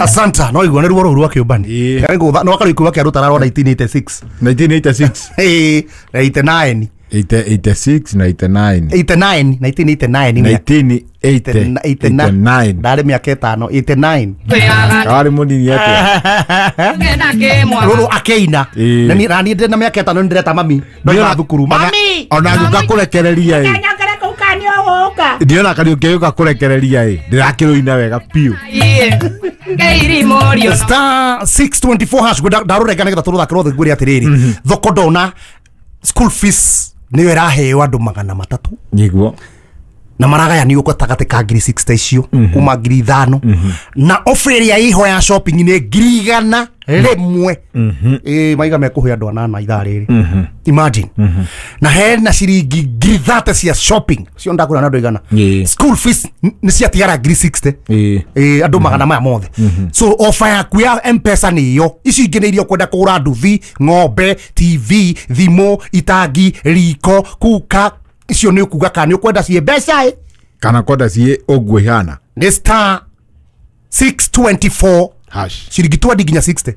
Asanta, no igua nĩ ruo rũu rwa kĩũmbani. Ĩĩ. No akarĩ kĩa rũtara rwa 1986. 1986. Ĩĩ, na 89. 86 na 89. 89, 1989 nĩ mĩaka- 1989. Ndarĩ mĩaka 5, 89. Karĩ mũnini atĩa? Rũrũ akĩina. Ĩĩ. Na niĩ ndĩ na mĩaka 5 nĩ ndĩreta mami ndoima thukuru, mami. Ona ngũka kũrekereria ĩ, ndiona kariũki gũka kũrekereria ĩ, ndĩrakĩrũina wega biũ. *624# ndarũrenga nĩgetha tũrũthake rwothe ngwĩre atĩrĩrĩ, thoko ndona school fees nĩyo ĩraheo andũ 300. Nĩguo. Na maragayanio gatagatĩ ka 60,000 icio kuma 5,000, na offer ĩrĩa ĩho ya shopping nĩ 101,000. Ĩ maiga mekũhe andũ anana ithaa rĩrĩ, imagine. Na hena ciringi 30,000 cia shopping cio ndakwĩra na andũ igana. School fees nĩ ciatigara 60,000. Ĩ andũ magana maya mothe. So offer yaku ya Mpesa nĩ ĩyo. Ici ingĩ nĩ iria ũkwenda kũgũra, nduthi, ng'ombe, TV, thimũ, itangi, riko, kuka, icio nĩ ũkuga kana nĩ ũkwenda ciĩ mbeca ĩ Kana kwenda ciĩ ũguo ihana. Nĩ *624 hash. Ciringi 20 nginya 60.